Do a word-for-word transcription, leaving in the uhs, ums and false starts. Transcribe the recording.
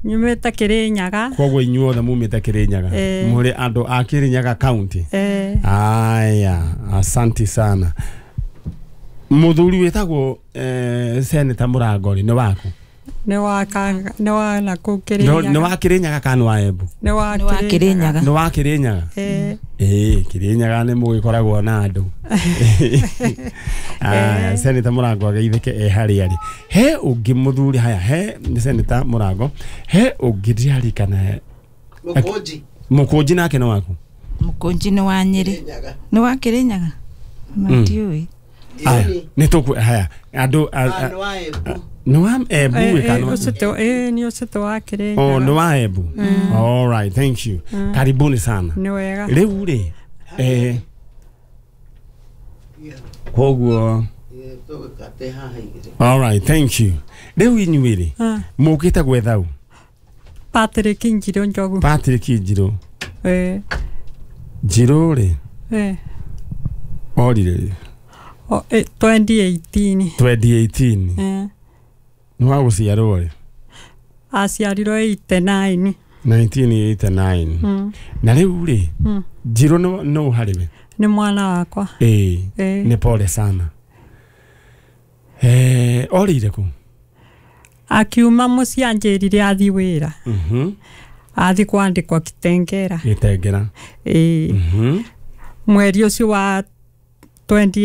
Nyumĩte Kĩrĩnyaga. Koguo inyuothe mumĩte Kĩrĩnyaga? Eh. Mũrĩ andũ a Kĩrĩnyaga County? Eh. Aya, asanti sana. Mũthuri wĩtagwo eh, Senator Mũrango rĩ, nĩ waku? Nĩ wa ka nĩ wa nakũu Nĩ Kĩrĩnyaga. Nĩ wa Kĩrĩnyaga kana nĩ wa Embu? Nĩ wa Nĩ wa Kĩrĩnyaga. Nĩ wa Kĩrĩnyaga? Eh. Ĩĩ, Kĩrĩnyaga nĩ mũgĩkoragwo na andũ. Aya, Senator Mũrango ageithĩke e harĩa arĩ. He ũngĩ mũthuri haya, he nĩ Senator Mũrango, he ũngĩ ndĩrarikana. Mũkũnji. Mũkũnji nake nĩ waku? Mũkũnji nĩ wa Nyĩrĩ. Kĩrĩnyaga. Nĩ wa Kĩrĩnyaga na Mm. ndiũĩ. Aya, Ndiũĩ. nĩ tũkũ haya andũ a- Ah, a- nĩ wa Embu. Nĩ wa Embu? Eh, ĩ eh, kana ũcio tũ- eh, nĩ ũcio tũ wa oh Kĩrĩnyaga. Nĩ wa Embu. All right, thank you, karibuni sana. Nĩ wega. Rĩu rĩ, eh, koguo Eh, tũgĩkate haha igĩrĩ. All right, thank you. Rĩu inyuĩ rĩ, Ah. mũkĩte gwetha ũ? Patrick Njirũ Njogu. Patrick Njirũ. Eh. Njirũ rĩ, Eh. orire rĩ? O, eh, twenty eighteen. twenty eighteen. Eh. Nĩ wa gũciarwo rĩ? Aciarirwo eighty-nine. nineteen eighty-nine. Mm. Na rĩu rĩ, Mm. Njirũ nĩ nũ harĩ we? Nĩ mwana wakwa. Ĩĩ. Eh. Nĩ pole sana. Eh, orĩire kũ? Akiuma mũciĩ anjĩrire athi wĩra. Mhm. Athi kwandĩkwo Kitengera. Gĩtengera. Ĩĩ. Mhm. Mweri ũcio wa twenty